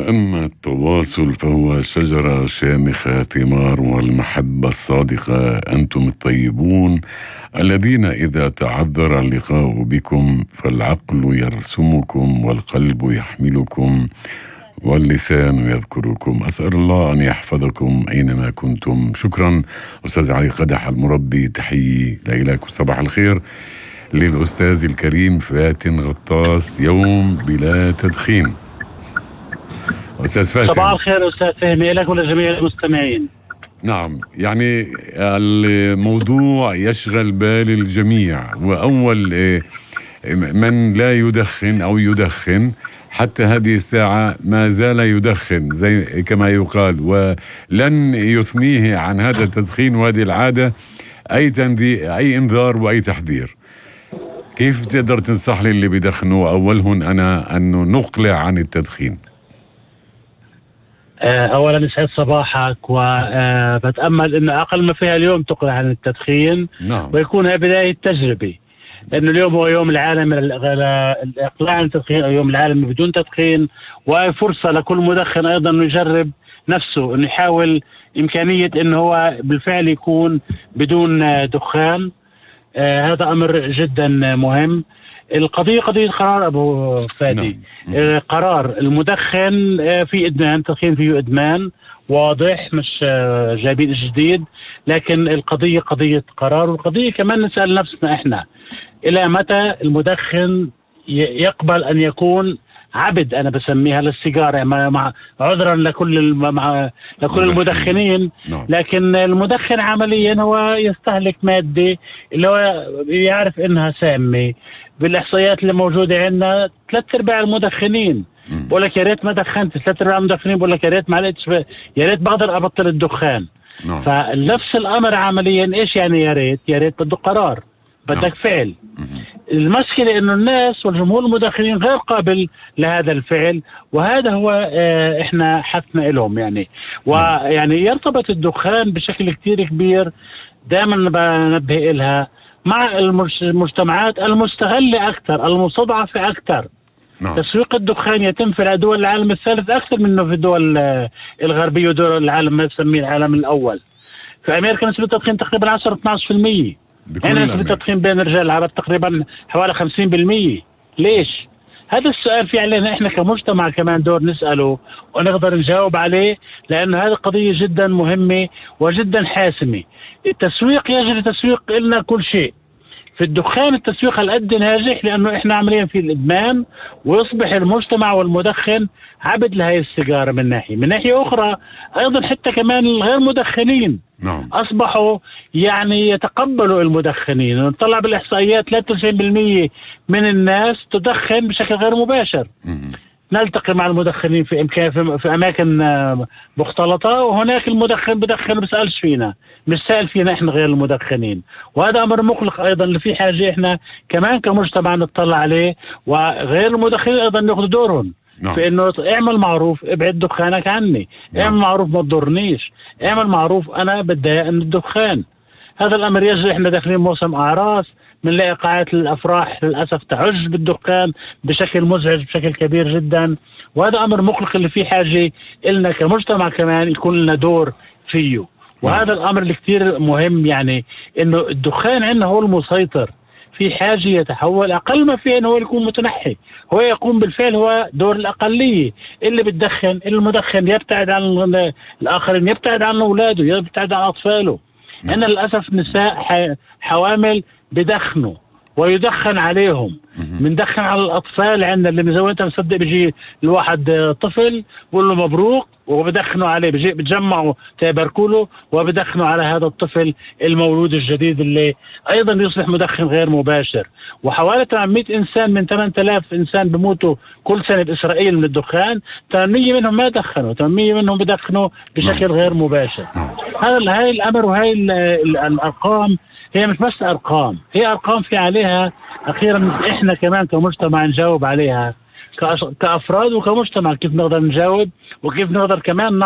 وأما التواصل فهو شجرة شامخة ثمار والمحبة الصادقة. أنتم الطيبون الذين إذا تعذر اللقاء بكم فالعقل يرسمكم والقلب يحملكم واللسان يذكركم. أسأل الله أن يحفظكم أينما كنتم. شكرا أستاذ علي قدح المربي، تحيي لإلك وصباح الخير للأستاذ الكريم فاتن غطاس، يوم بلا تدخين. أستاذ فاتن، صباح الخير أستاذ فهمي لك ولجميع المستمعين. نعم، يعني الموضوع يشغل بال الجميع، وأول من لا يدخن أو يدخن حتى هذه الساعة ما زال يدخن زي كما يقال، ولن يثنيه عن هذا التدخين وهذه العادة أي إنذار وأي تحذير. كيف تقدر تنصح لي اللي بيدخنوا أولهن أنا أنه نقلع عن التدخين؟ أولا يسعد صباحك، وبتأمل أنه أقل ما فيها اليوم تقلع عن التدخين. نعم. ويكون بداية تجربة، لأنه اليوم هو يوم العالم الإقلاع عن التدخين أو يوم العالم بدون تدخين، وفرصة لكل مدخن أيضا أنه يجرب نفسه، أنه يحاول إمكانية أنه هو بالفعل يكون بدون دخان. هذا أمر جدا مهم. القضية قضية قرار أبو فادي. نعم. قرار المدخن في إدمان، التدخين فيه إدمان واضح، مش جايبين جديد، لكن القضية قضية قرار. والقضية كمان نسأل نفسنا إحنا إلى متى المدخن يقبل أن يكون عبد، أنا بسميها للسيجارة، مع عذرا لكل المدخنين. لكن المدخن عمليا هو يستهلك مادة اللي هو يعرف إنها سامة. بالإحصائيات اللي موجودة عندنا 3/4 المدخنين بقول لك يا ريت ما دخنت، 3/4 المدخنين بقول لك يا ريت ما لقيتش، يا ريت بقدر أبطل الدخان. فنفس الأمر عمليا إيش يعني يا ريت بده قرار، بدك فعل. المشكلة إنه الناس والجمهور المدخنين غير قابل لهذا الفعل، وهذا هو إحنا حثنا لهم يعني. ويعني يرتبط الدخان بشكل كتير كبير، دائما بنبه إلها مع المجتمعات المستغلة أكثر، المستضعفة أكثر. تسويق الدخان يتم في دول العالم الثالث أكثر منه في الدول الغربية ودول العالم ما يسميه العالم الأول. في أمريكا نسبة التدخين تقريبا 10-12%. هنا نسبة التدخين بين الرجال العرب تقريبا حوالي 50%. ليش؟ هذا السؤال في علينا إحنا كمجتمع كمان دور نسأله ونقدر نجاوب عليه، لأن هذه قضية جدا مهمة وجدا حاسمة. التسويق يجري تسويق إلنا كل شيء. في الدخان التسويق هالقد ناجح لأنه إحنا عمليا في الإدمان، ويصبح المجتمع والمدخن عبد لهي السيجارة من ناحية أخرى. أيضا حتى كمان الغير مدخنين أصبحوا يعني يتقبلوا المدخنين. نطلع بالإحصائيات 93% من الناس تدخن بشكل غير مباشر. نلتقي مع المدخنين في أماكن مختلطة، وهناك المدخن بدخن بسألش فينا، مش سأل فينا إحنا غير المدخنين. وهذا أمر مقلق أيضا، اللي في حاجة إحنا كمان كمجتمع نطلع عليه، وغير المدخنين أيضا يأخذوا دورهم في إنه اعمل معروف، ابعد دخانك عني، اعمل معروف ما تضرنيش، اعمل معروف أنا بتضايق من الدخان. هذا الأمر يجري. إحنا داخلين موسم أعراس، بنلاقي قاعات الأفراح للأسف تعج بالدخان بشكل مزعج بشكل كبير جدا، وهذا أمر مقلق اللي فيه حاجة إلنا كمجتمع كمان يكون لنا دور فيه. وهذا الأمر اللي كتير مهم، يعني إنه الدخان عندنا هو المسيطر، في حاجة يتحول أقل ما فيه إنه هو يكون متنحي، هو يقوم بالفعل، هو دور الأقلية اللي بتدخن. المدخن يبتعد عن الآخرين، يبتعد عن أولاده، يبتعد عن أطفاله. أنا للأسف نساء حوامل بدخنوا ويدخن عليهم. بندخن على الأطفال عندنا اللي زي ما أنت مصدق، بيجي الواحد طفل بقول له مبروك وبدخنوا عليه، بتجمعوا تباركوا له وبدخنوا على هذا الطفل المولود الجديد اللي أيضا يصبح مدخن غير مباشر. وحوالي 800 إنسان من 8000 إنسان بموتوا كل سنة بإسرائيل من الدخان، 800 منهم ما دخنوا، 800 منهم بدخنوا بشكل غير مباشر. هاي الأمر وهاي الأرقام هي مش بس أرقام، هي أرقام في عليها أخيرا إحنا كمان كمجتمع نجاوب عليها كأفراد وكمجتمع، كيف نقدر نجاوب وكيف نقدر كمان